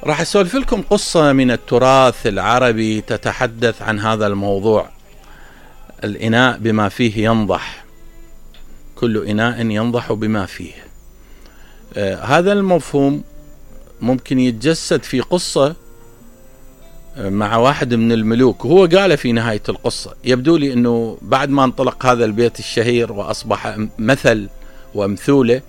راح أسولف لكم قصة من التراث العربي تتحدث عن هذا الموضوع. الإناء بما فيه ينضح، كل إناء ينضح بما فيه. هذا المفهوم ممكن يتجسد في قصة مع واحد من الملوك، وهو قال في نهاية القصة. يبدو لي أنه بعد ما انطلق هذا البيت الشهير وأصبح مثل ومثولة،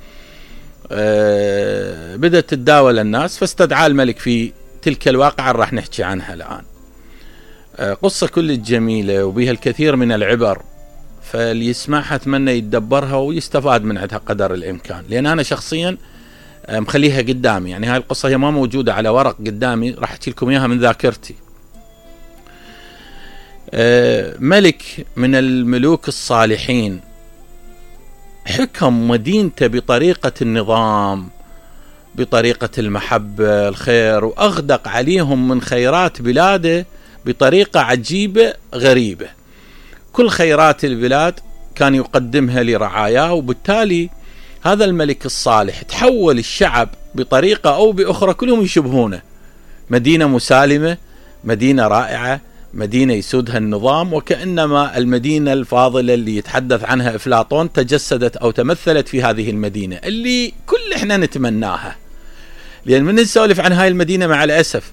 بدأت تتداول الناس، فاستدعى الملك في تلك الواقعة راح نحكي عنها الآن. قصة كل جميلة وبها الكثير من العبر، فاللي يسمعها أتمنى يتدبرها ويستفاد من عندها قدر الإمكان، لأن أنا شخصيا مخليها قدامي. يعني هاي القصة هي ما موجودة على ورق قدامي، راح أحكي لكم إياها من ذاكرتي. ملك من الملوك الصالحين حكم مدينته بطريقة النظام، بطريقة المحبة الخير، وأغدق عليهم من خيرات بلاده بطريقة عجيبة غريبة. كل خيرات البلاد كان يقدمها لرعاياه، وبالتالي هذا الملك الصالح تحول الشعب بطريقة أو بأخرى كلهم يشبهونه. مدينة مسالمة، مدينة رائعة، مدينة يسودها النظام، وكأنما المدينة الفاضلة اللي يتحدث عنها أفلاطون تجسدت أو تمثلت في هذه المدينة اللي كل إحنا نتمناها. لأن من نسولف عن هاي المدينة مع الأسف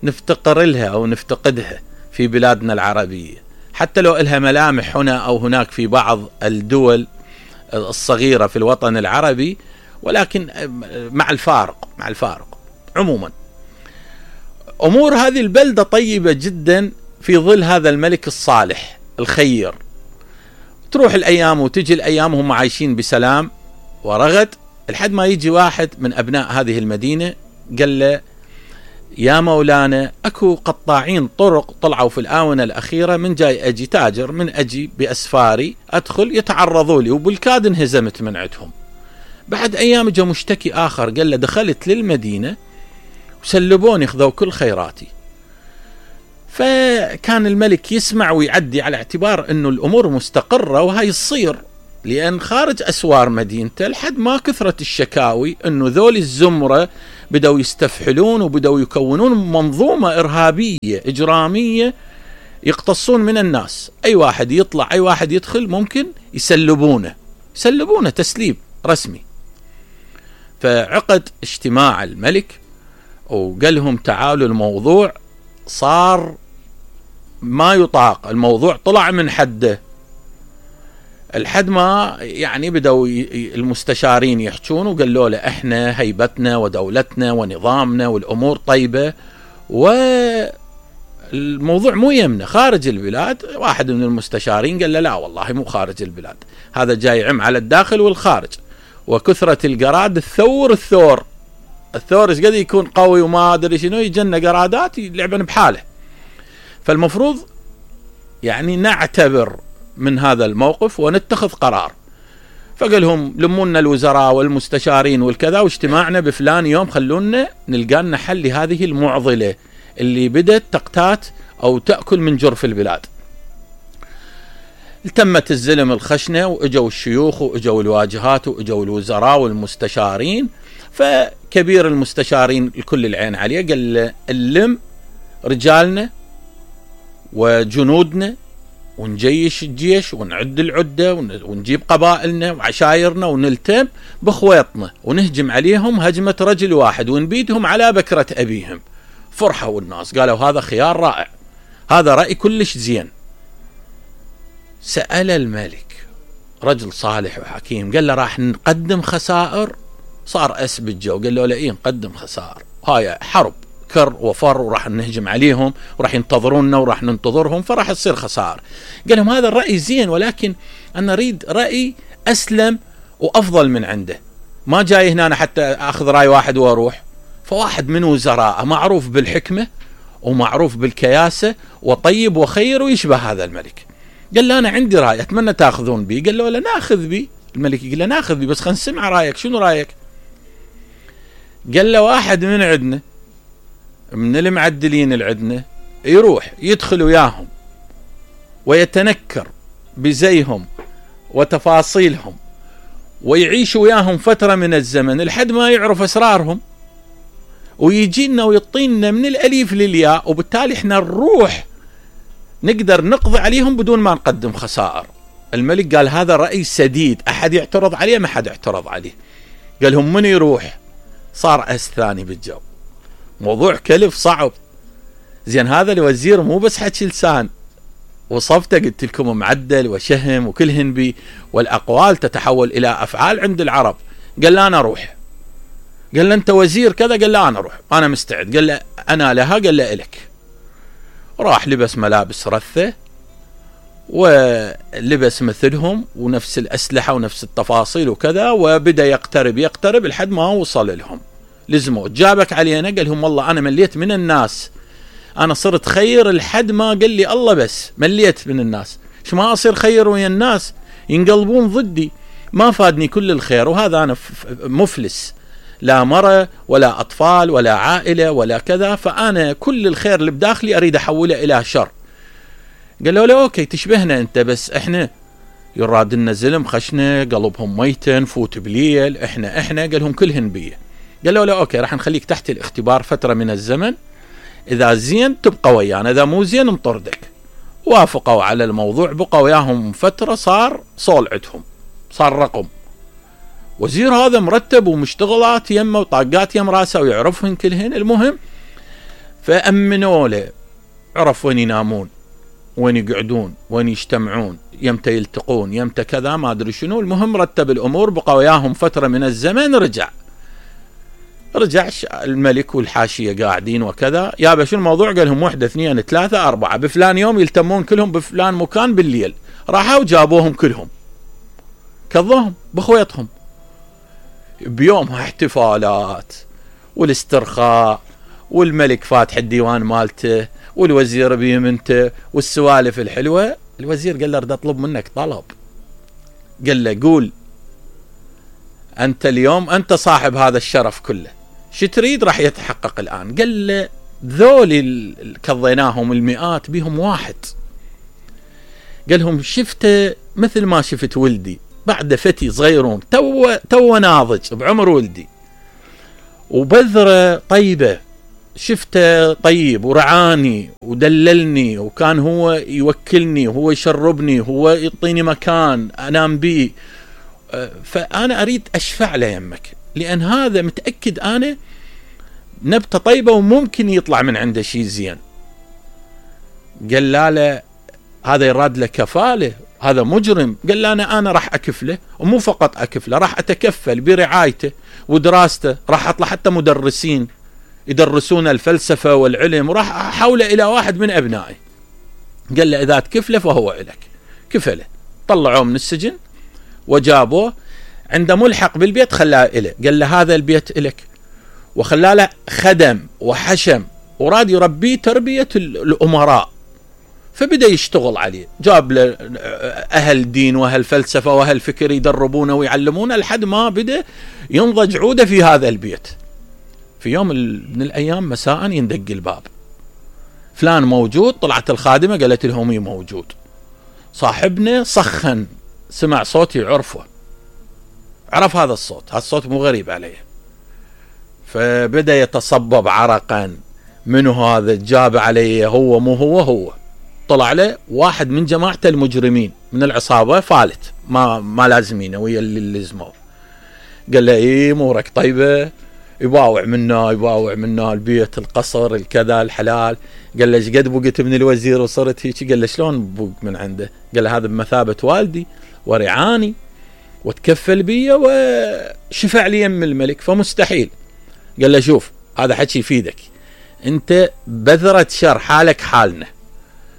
نفتقر لها أو نفتقدها في بلادنا العربية، حتى لو إلها ملامح هنا أو هناك في بعض الدول الصغيرة في الوطن العربي، ولكن مع الفارق عموما أمور هذه البلدة طيبة جدا في ظل هذا الملك الصالح الخير. تروح الأيام وتجي الأيام وهم عايشين بسلام ورغد، لحد ما يجي واحد من أبناء هذه المدينة قال له: يا مولانا، أكو قطاعين طرق طلعوا في الآونة الأخيرة، من جاي أجي تاجر من أجي بأسفاري أدخل يتعرضوا لي، وبالكاد انهزمت من عندهم. بعد أيام جاء مشتكي آخر قال له: دخلت للمدينة وسلبوني، خذوا كل خيراتي. فكان الملك يسمع ويعدي على اعتبار أنه الأمور مستقرة وهي الصير، لأن خارج أسوار مدينته لحد ما كثرت الشكاوي أنه ذول الزمرة بدأوا يستفحلون وبدأوا يكونون منظومة إرهابية إجرامية يقتصون من الناس. أي واحد يطلع، أي واحد يدخل، ممكن يسلبونه تسليب رسمي. فعقد اجتماع الملك وقال لهم: تعالوا، الموضوع صار ما يطاق، الموضوع طلع من حده. الحد ما يعني بدأوا المستشارين يحجون وقالوا له: احنا هيبتنا ودولتنا ونظامنا والأمور طيبة، والموضوع مو يمنا خارج البلاد. واحد من المستشارين قال له: لا والله مو خارج البلاد، هذا جاي يعم على الداخل والخارج، وكثرة القراد الثور ايش قد يكون قوي وما ادري شنو، يجنى قرادات يلعبن بحاله. فالمفروض يعني نعتبر من هذا الموقف ونتخذ قرار. فقال لهم: لمونا الوزراء والمستشارين والكذا، واجتماعنا بفلان يوم، خلونا نلقى لنا حل لهذه المعضلة اللي بدت تقتات أو تأكل من جرف البلاد. التمت الزلم الخشنة، وإجوا الشيوخ وإجوا الواجهات وإجوا الوزراء والمستشارين. فكبير المستشارين الكل العين عليه قال له: اللم رجالنا وجنودنا ونجيش الجيش ونعد العدة ونجيب قبائلنا وعشايرنا ونلتم بخويطنا ونهجم عليهم هجمة رجل واحد ونبيدهم على بكرة أبيهم. فرحوا الناس، قالوا: هذا خيار رائع، هذا رأي كلش زين. سأل الملك، رجل صالح وحكيم، قال له: راح نقدم خسائر؟ صار أس بالجو، قال له: لا، إيه نقدم خسائر، هاي حرب كر وفر، وراح نهجم عليهم وراح ينتظروننا وراح ننتظرهم، فراح تصير خسائر. قال لهم: هذا الرأي زين، ولكن أنا أريد رأي أسلم وأفضل من عنده، ما جاي هنا أنا حتى أخذ رأي واحد وأروح. فواحد من وزراء معروف بالحكمة ومعروف بالكياسة وطيب وخير ويشبه هذا الملك، قال له: أنا عندي رأي أتمنى تأخذون بي. قال له: لا، نأخذ بي. الملك قال له: نأخذ بي، بس خلينا نسمع رأيك، شنو رأيك؟ قال له: واحد من عندنا من المعدلين العدنا يروح يدخل وياهم ويتنكر بزيهم وتفاصيلهم ويعيش وياهم فترة من الزمن لحد ما يعرف أسرارهم، ويجينا ويعطينا من الأليف للياء، وبالتالي احنا نروح نقدر نقضي عليهم بدون ما نقدم خسائر. الملك قال هذا رأي سديد، أحد يعترض عليه؟ ما حد اعترض عليه. قال هم من يروح؟ صار أس ثاني بالجو. موضوع كلف صعب. زين هذا الوزير مو بس حكي لسان، وصفته قلت لكم معدل وشهم وكلهن بي، والأقوال تتحول إلى أفعال عند العرب. قال له أنا أروح. قال له أنت وزير كذا؟ قال له أنا أروح، أنا مستعد. قال له أنا لها؟ قال له إلك. راح لبس ملابس رثة ولبس مثلهم ونفس الأسلحة ونفس التفاصيل وكذا، وبدأ يقترب لحد ما وصل لهم. لزموا جابك علينا؟ قال لهم والله أنا مليت من الناس، أنا صرت خير لحد ما قال لي الله، بس مليت من الناس. شو ما أصير خير ويا الناس ينقلبون ضدي، ما فادني كل الخير، وهذا أنا مفلس، لا مرة ولا أطفال ولا عائلة ولا كذا، فأنا كل الخير اللي بداخلي أريد أحوله إلى شر. قال له لا أوكي تشبهنا أنت، بس إحنا يراد لنا زلم خشنة قلبهم ميتة نفوت بليل، إحنا قال لهم كلهن بيه. قال له لا أوكي راح نخليك تحت الاختبار فترة من الزمن، إذا زين تبقى ويانا، إذا مو زين نطردك. وافقوا على الموضوع، بقى وياهم فترة، صار صول عندهم، صار رقم. وزير هذا مرتب ومشتغلات يمه وطاقات يم راسه ويعرفهن كلهن. المهم فأمنوا له، عرف وين ينامون، وين يقعدون، وين يجتمعون، يمتى يلتقون، يمتى كذا ما أدري شنو. المهم رتب الأمور، بقى وياهم فترة من الزمن. رجع الملك والحاشية قاعدين وكذا، يا شو الموضوع؟ قال لهم 1 2 3 4 بفلان يوم يلتمون كلهم بفلان مكان بالليل. راحوا وجابوهم كلهم، كظوهم بخويتهم. بيومها احتفالات والاسترخاء، والملك فاتح الديوان مالته، والوزير بيمنته، والسوالف الحلوة. الوزير قال له اريد اطلب منك طلب. قال له قول، انت اليوم انت صاحب هذا الشرف كله، شو تريد راح يتحقق الآن. قال له ذول كضيناهم المئات بهم واحد. قال لهم شفته مثل ما شفت ولدي، بعد فتي صغيرون تو ناضج بعمر ولدي، وبذرة طيبة، شفته طيب ورعاني ودللني، وكان هو يوكلني وهو يشربني وهو يعطيني مكان أنام بيه، فأنا أريد أشفع له يمك، لأن هذا متأكد أنا نبتة طيبة وممكن يطلع من عنده شيء زين. قال له هذا يراد له كفالة، هذا مجرم. قال له أنا راح أكفله، ومو فقط أكفله، راح أتكفل برعايته ودراسته، راح أطلع حتى مدرسين يدرسون الفلسفة والعلم، وراح أحوله إلى واحد من أبنائي. قال له إذا تكفله فهو إلك. كفله، طلعوه من السجن وجابوه عنده ملحق بالبيت، خلاه إله. قال له هذا البيت إلك، وخلاه له خدم وحشم، وراد يربيه تربية الأمراء. فبدأ يشتغل عليه، جاب له أهل دين وأهل فلسفة وأهل فكر يدربونه ويعلمونه، لحد ما بدأ ينضج عودة في هذا البيت. في يوم من الأيام مساء يندق الباب، فلان موجود؟ طلعت الخادمة قالت لهم مي موجود. صاحبنا سخن، سمع صوتي عرفه، عرف هذا الصوت، هذا الصوت مو غريب عليه. فبدأ يتصبب عرقا، منو هذا؟ جاب عليه هو مو هو. طلع له واحد من جماعة المجرمين من العصابة، فالت ما لازمينه ويا اللي لزموه. قال له ايه امورك طيبة؟ يباوع منا البيت، القصر، الكذا، الحلال. قال له ايش قد بقيت من الوزير وصرت هيك؟ قال له شلون بوق من عنده؟ قال له هذا بمثابة والدي ورعاني وتكفل بي وشفع لي يم الملك، فمستحيل. قال له شوف هذا حكي يفيدك، انت بذرة شر، حالك حالنا،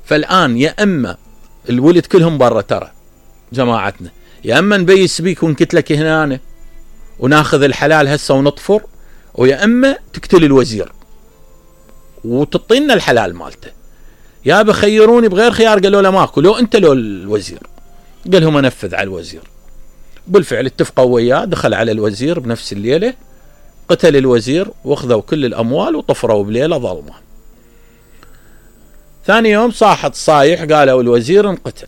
فالآن يا اما الولد كلهم برا ترى جماعتنا، يا اما نبيس بيك ونكتلك هنا وناخذ الحلال هسه ونطفر، ويا اما تقتل الوزير وتعطينا الحلال مالته. يا بخيروني بغير خيار. قالوا له ماكو، لو انت لو الوزير. قال لهم انفذ على الوزير. بالفعل اتفقوا وياه، دخل على الوزير بنفس الليلة، قتل الوزير واخذوا كل الأموال وطفروا بليلة ظلمة. ثاني يوم صاحت صايح، قالوا الوزير انقتل.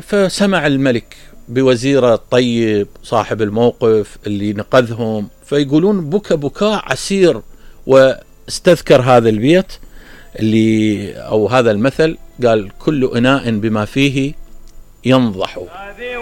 فسمع الملك بوزيره الطيب صاحب الموقف اللي نقذهم، فيقولون بكى بكاء عسير. واستذكر هذا البيت اللي أو هذا المثل، قال: كل إناء بما فيه ينضح.